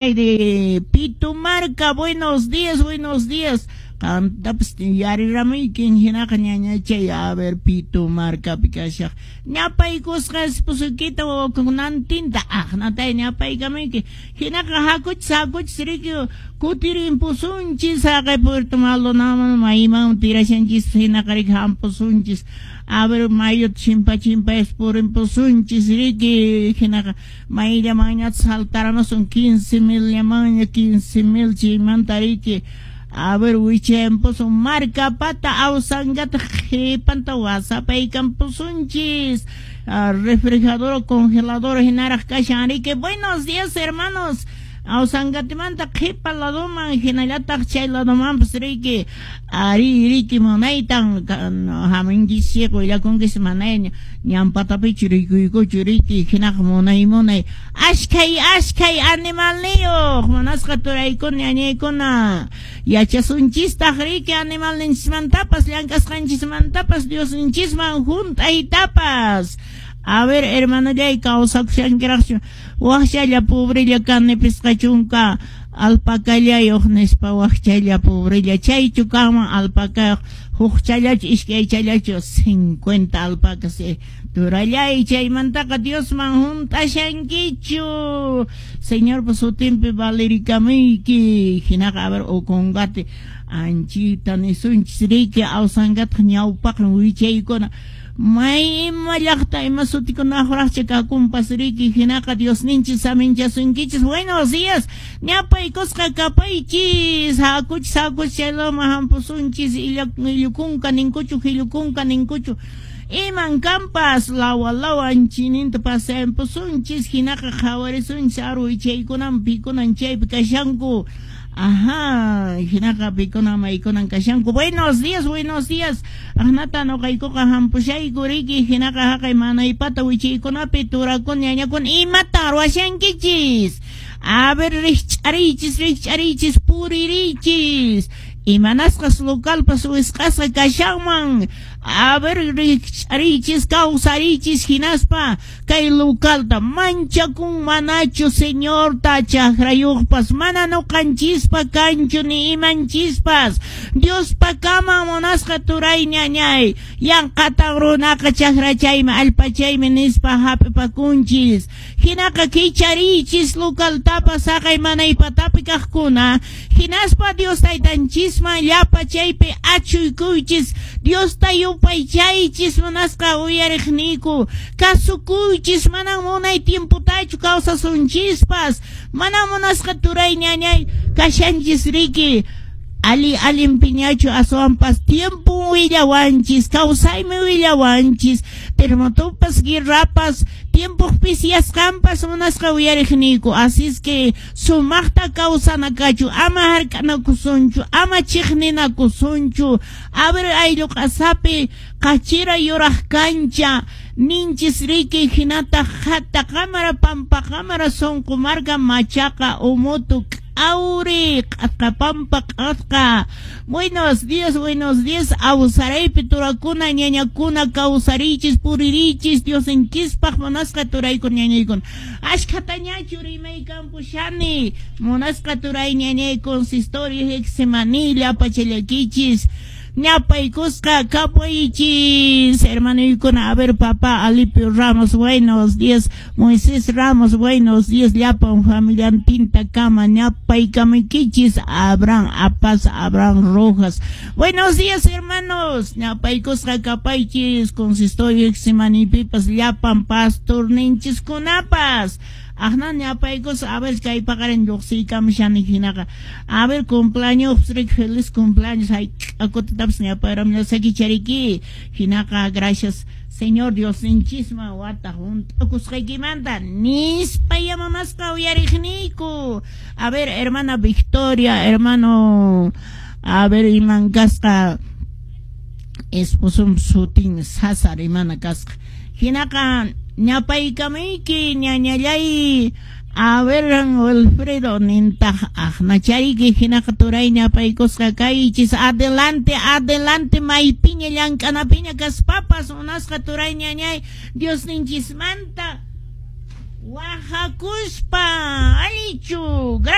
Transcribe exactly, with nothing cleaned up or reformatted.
De Pitumarca, buenos días, buenos días. Qantapas yariramuykin hinaqa ñañachay, a ver, Pitumarcapi kashaq ñapaykusqa esposukita wawakunantinta aqnatay ñapaykamuyki hinaqa hakuchis hakuchis riki kutirimpusunchis haqay Puerto Maldonado mayman tirashanchis hinaqa riki hampusunchis, a ver, mayuta chimpa chimpayas purimpusunchis riki hinaqa mayllamanñataq saltaramusun quince mil llamanña quince mil chaymanta riki, a ver, wichayampusun Marcapata Awsangata qhipanta wasapaykampusunchis, refrigerador congelador hinaraq kashan riki. Buenos días, hermanos. Awsangatimanta qhipa ladoman hinallataq chay ladomanpas riki ari riki munaytan haminchis willakunkis manayña ñanpatapichu rikuykuchu riki hinaqa munay munay ashkhay ashkhay animalniyuq munasqa turaykuna ñañaykuna yachasunchistaq riki animalninchismantapas llank'asqanchismantapas Diosninchisman hunt'aytapas. A ver, hermanallay, kawsakushankiraqchu wakchalla pobrella kani pisqa chunka alpacallayuq nispa wakchalla pobrella chaychu kanman alpacayuq huk challachu iskay challachu cincuenta alpacas turallay chaymantaqa Diosman hunt'ashankichu Señorpa sutinpi valerikamuyki hinaqa a ver Ocongate anchita nisunchis riki Awsangataq ñawpaqmi wichaykuna may ima llaqta ima sutikunaqraqcha kakunpas riki hinaqa Diosninchis saminchasunkichis. Buenos días, ñapaykusqa kapaychis hakuchis hakuchis chaylama hampusunchis illukunka ninkuchu hillukunka ninkuchu iman kampas lawa lawa anchininta pasampusunchis hinaqa qhawarisunchis aru wichaykunan pikunan chaypi kashanku. Ajá, hinaqa pikunan maykunan kashanku. Buenos días, buenos días. Aqnata nuqaykuqa hampushayku riki hinaqa haqay manaypata wichaykunapi turakuna ñañakuna imatan ruwashankichis. A ver, rikch'ariychis rikch'ariychis puririchis. Imanasqas localpas wisq'asqa kashanman. A ver, rikch'ariychis kawsariychis hinaspa kay localta manchakun manachu Señorta chakrayuqpas mana nuqanchispa kanchu ni imanchispas Diospa kaman munasqa turay ñañay yanqatan runaqa chakrachaymi allpachaymi nispa hap'ipakunchis hinaqa kichariychis localtapas haqay manaypatapi kaqkuna hinaspa Dios taytanchisman llapa chaypi achuykuychis Diosta yupaychaychis munasqa uyariqniyku kasukuychis manan munay tiemputachu kawsasunchispas mana munasqa turay ñañay kashanchis riki ali allin piñachu aswanpas tiempo willawanchis kawsaymi willawanchis terremotopas guerrapas tiempo pisiyasqanpas munasqa uyariqniyku así es que sumaqta kawsanakachu ama hark'anakusunchu ama chiqninakusunchu a ver ayllu q'asapi qachira yuraq kancha ninchis riki hinataq hata qamara pampa qamara sunqu marka machaqa umutu Auri, q'asqapampa q'asqa. Buenos días, buenos días. Awsaraypi turakuna, ñañakuna, kawsarichis, puririchis, Diosninchispaq munasqa turaykuna, ñañaykuna. Ashkhatañachu rimaykampushani. Munasqa turay ñañay consistorio Getsemaní pachallakichis. Ñapaykusqa kapuychis, hermanoykuna. A ver, papá Alipio Ramos, buenos días. Moisés Ramos, buenos días. Llapan familiantinta kama ñapaykamaykichis. Abraham Apas, Abraham Rojas. Buenos días, hermanos. Ñapaykusqa kapaychis, consistorio Getsemanípipas, llapan pastor ninchiskunapas. Aqna ñapaykus, a ver, kay paqarin lluqsiykamushani hinaqa. A ver, cumpleaños, feliz cumpleaños. Ay, akutatapas ñapayramllasakichariki. Hinaqa, gracias, Señor Dios ninchisman wata hunt'akusqaykimanta nispa yamamasqa uyariqniyku. A ver, hermana Victoria, hermano, a ver, iman kasqa esposum sutin César imana kasqa. Hinaqa ñapaykamayki ñañallay a ver Wilfredo nintaq aqnachariki hinaqa turay ñapaykusqa kaychis adelante adelante maypiña llank'anapiña kaspapas munasqa turay ñañay Diosninchismanta Wahakuspa allichu.